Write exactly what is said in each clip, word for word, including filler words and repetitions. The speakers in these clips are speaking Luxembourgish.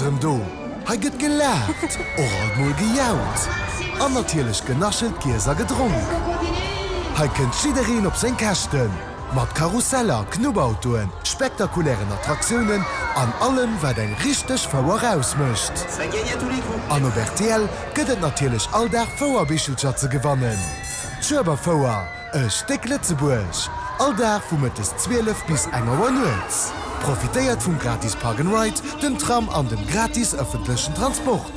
ass erëm do! Hei gëtt gelaacht, och alt mol gejaut an natierlech genaschelt, giess a gedronk. Hei kënnt jiddereen op seng Käschten, mat Karusseller, Knubbautoen, spektakulären Attraktiounen an allem, wat eng richteg Fouer ausmécht. An op rtl gëtt et natierlech all Dag Fouerbichelcher ze gewannen. D'Schueberfouer, e Stéck Lëtzebuerg! All Dag vu mëttes zwielef bis eng Auer nuets. Profitéiert vum gratis Park and Ride, dem Tram an dem gratis ëffentlechen Transport.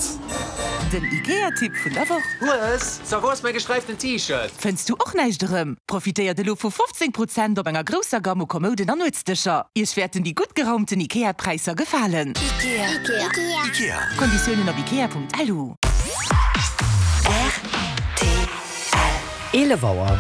Den IKEA-Tipp vun der Woch. Hues, so wou ass mäi gesträiften T-Shirt? Fënns du och näischt erëm? Profitéiert elo vu fofzéng Prozent op enger grousser Gamme u Kommouden an Nuetsdëscher. Iech wäerten déi gutt geraumten IKEA-Präisser gefalen. Ikea. Ikea. Ikea. Konditiounen op ikea.lu. Rtl. Eelef Auer.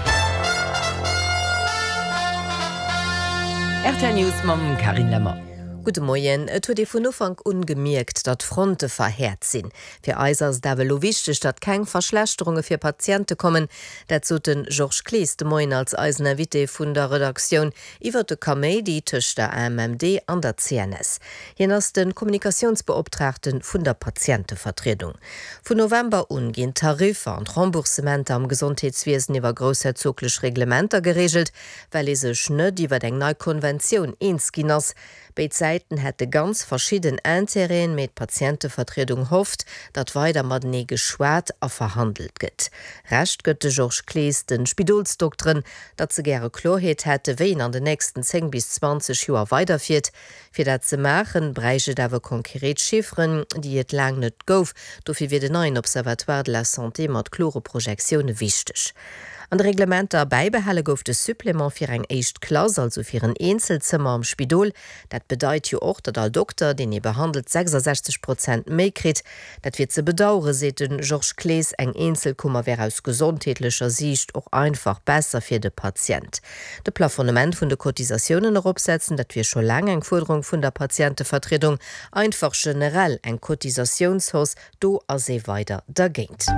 Rtl News mam Carine Lemmer. Gudde Moien. Et huet ee vun Ufank un gemierkt, datt d'Fronte verhäert sinn. Fir eis ass et awer elo wichteg, datt keng Verschlechterunge fir Patiente kommen. Dat sot de Georges Clees de Moien als eisen Invité vun der Redaktioun iwwer de Kaméidi tëscht der A M M D an der C N S. Hien ass de Kommunikatiounsbeoptraagte vun der Patientevertriedung. Vun November un ginn d'Tariffer an d'Remboursementer am Gesondheetswiesen iwwer groussherzoglech Reglementer gereegelt, well ee sech net iwwer eng nei Konventioun eens ginn ass. Béid Säiten hätte ganz verschidden Intérêten, mee d'Patientevertriedung hofft, datt weider matenee geschwat a verhandelt gëtt. Recht gëtt de Georges Clees de Spidolsdokteren, datt se gäre Kloerheet hätte, wéi een an den nächsten zéng bis zwanzeg Joer weiderfiert. Fir dat ze maachen, bräicht et awer konkret Chifferen, déi et laang net gouf. Dofir wier den neien Observatoire de la Santé mat klore Projektioune wichteg. An de Reglementer bäibehale gouf de Supplément fir eng éischt Klass, also fir en Eenzelzëmmer am Spidol. Dat bedeit jo och, datt all Dokter, deen ee behandelt, sechsasechzeg Prozent méi kritt. Dat wier ze bedauere, seet de Georges Clees. Eng Eenzelkummer wär aus gesondheetlecher Siicht och einfach besser fir de Patient. De Plafonnement vun de Cotisatiounen eropsetzen, dat wier scho laang eng Fuerderung vun der Patientevertriedung. Einfach generell eng Cotisatiounshausse, do ass ee weider dergéint.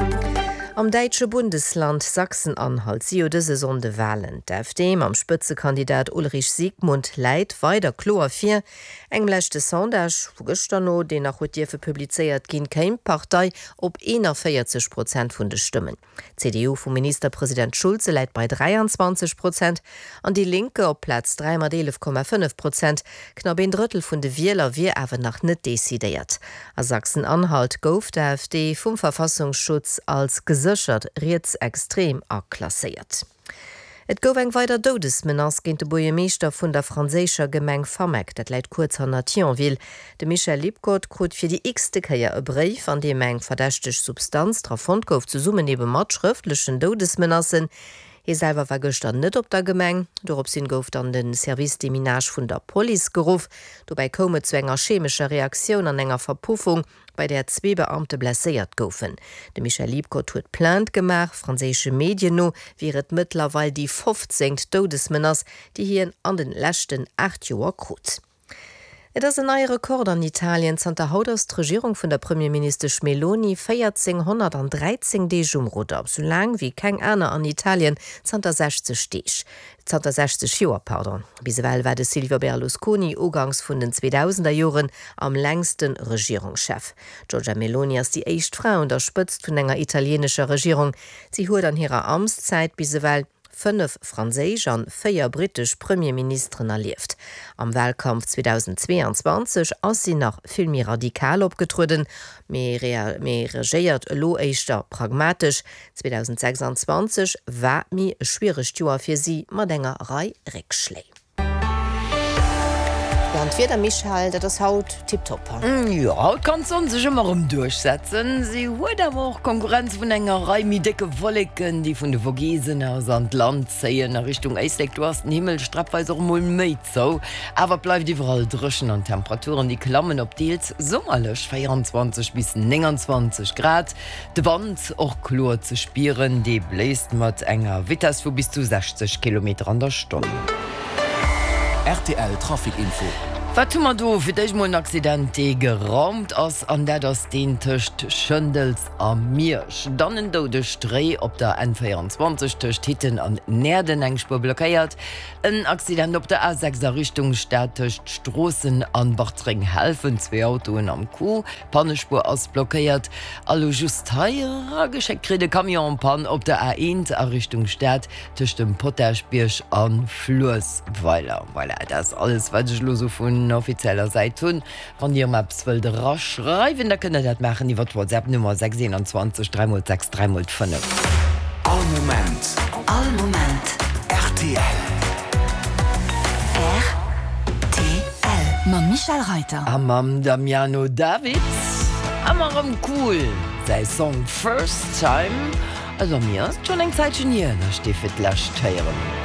Am däitsche Bundesland Sachsen-Anhalt si jo dëse Sonnde Walen. D'A F D mam Spëtzekandidat Ulrich Siegmund läit weider kloer vir. Engem leschte Sondage vu gëschter no, deen nach huet dierfe publizéiert ginn, kéim d'Partei op eenanvéierzeg Prozent vun de Stëmmen. D'C D U vum Ministerpresident Schulze läit bei dräianzwanzeg Prozent an Die Linke op Plaz dräi mat eelef Komma fënnef Prozent. Knapp een Drëttel vun de Wieler wier awer nach net decidéiert. A Sachsen-Anhalt gouf d'A F D vum Verfassungsschutz als geséchert rietsextrem aklasséiert. Et gouf eng weider Doudesmenace géint de Buergermeeschter vun der franséischer Gemeng Fameck, dat läit kuerz hanner Thionville. De Michel Liebgott krut fir déi x-te Kéier e Bréif, an deem eng verdächteg Substanz dra fonnt gouf, zesummen ebe mat schrëftlechen Doudesmenacen. Hie selwer war gëschter net op der Gemeng. Doropshin gouf dann de Service Déminage vun der Police geruff. Dobäi koum et zu enger chemescher Reaktioun an enger Verpuffung, bei där zwee Beamte blesséiert goufen. De Michel Liebgott huet Plainte gemaach. Franséische Medien no wier et mëttlerweil déi fofzéngt Doudesmenace, déi hien an de leschten aacht Joer krut. Et ass en neie Rekord an Italien, Zanter haut ass d'Regierung vun der Premierministesch Meloni véierzénghonnertdräizéng Deeg um Rudder, sou laang wéi keng aner an Italien zanter sechzeg Deeg, zanter sechzeg Joer, pardon. Bis ewell war de Silvio Berlusconi uganks vun den zweedausender Joren am längste Regierungschef. D'Giorgia Meloni ass déi éischt Fra un der Spëtzt vun enger italienescher Regierung. Si huet an hirer Amtszäit bis ewell fënnef franséisch an véier brittesch Premierministeren erlieft. Am Walkampf zweedausendzweeanzwanzeg ass si nach vill méi radikal opgetrueden, mee regéiert elo éischter pragmatesch. zweedausendsechsanzwanzeg war méi e schwieregt Joer fir si mat enger Rei Réckschléi. Jo, an d'Wieder, Michèle, dat ass haut tiptop. Jo, haut kann d'Sonn sech ëmmer erëm duerchsetzen. Si huet awer och Konkurrenz vun enger Rei méi décke Wolleken, déi vun de Vogesen aus an d'Land zéien. A Richtung Éislek, do ass den Himmel streppweis och emol méi zou, awer et bleift iwwerall dréchen an d'Temperaturen, déi klammen op deels summerlech véierundzwanzeg bis nénganzwanzeg Grad. De Wand och kloer ze spieren, dee bléist mat enger Vitess vu bis zu sechzeg Kilometer an der Stonn. R T L Trafic Info. Wat hu mer do? Fir d'éischt mol en Accident, dee geraumt ass, an dat ass deen tëscht Schëndels a Miersch. Dann en doudegt Réi op der N véierundzwanzeg tëscht Hitten an Näerden, eng Spuer blockéiert. En Accident op der A sechs a Richtung Stad tëscht Stroossen an Bartreng-Helfen, zwee Autoen am Coup, Pannespuer ass blockéiert. A lo just hei erageschéckt kritt, e Camion en panne op der A eent a Richtung Stad tëscht dem Potaschbierg a Fluessweiler. Voilà, dat ass alles, wat ech elo sou vun offizieller Säit hunn. Wann Dir erëm eppes wëllt eraschreiwen, da kënnt Der dat maachen iwwer d'WhatsApp-Nummer sechs eenanzwanzeg dräi mol sechs dräi mol fënnef. All Moment. All Moment. Rtl. Rtl. Mam Michel Reiter. A mam Damiano David. Ëmmer erëm cool, säi Song First Time. Also mir ass et schonn eng Zäitchen hier, datt ech dee fir d'lescht héieren hunn.